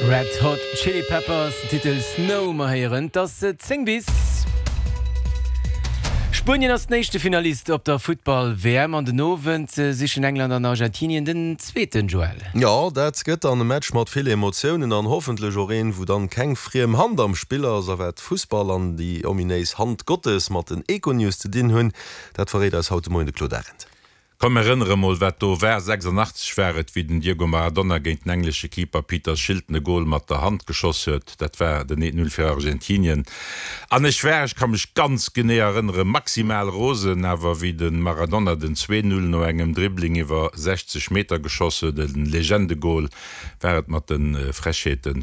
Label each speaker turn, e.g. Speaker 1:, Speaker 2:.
Speaker 1: Red Hot Chili Peppers, den Titel Snow. Mer héieren, 't ass 10 bis. Spuenien ass den éischte Finalist op der Futtball-WM an den Owend sichen England an Argentinien den zweeten, Joël.
Speaker 2: Jo, dat gëtt dann e Match mat vill Emotiounen an hoffentlech och een, wou dann keng friem Hand am Spill ass. A wat Fussball an déi ominéis Hand Gottes mat den Econews ze dinn hunn, dat verréit eis haut de Moien de Claude Arend.
Speaker 3: Komm mir erënnere mol wat do war, 86 war et, wéi den Diego Maradona géint den englesche Keeper Peter Shilton e Gol mat der Hand geschoss huet. Dat war den 1, 0 fir Argentinien. An ech war, ech ka mech ganz genee erënneren, maximal rosen. Awer wéi de Maradona den 2, 0 no engem Dribbling iwwer 60 Meter geschoss huet, e Legendegol, war et mat de Frechheeten.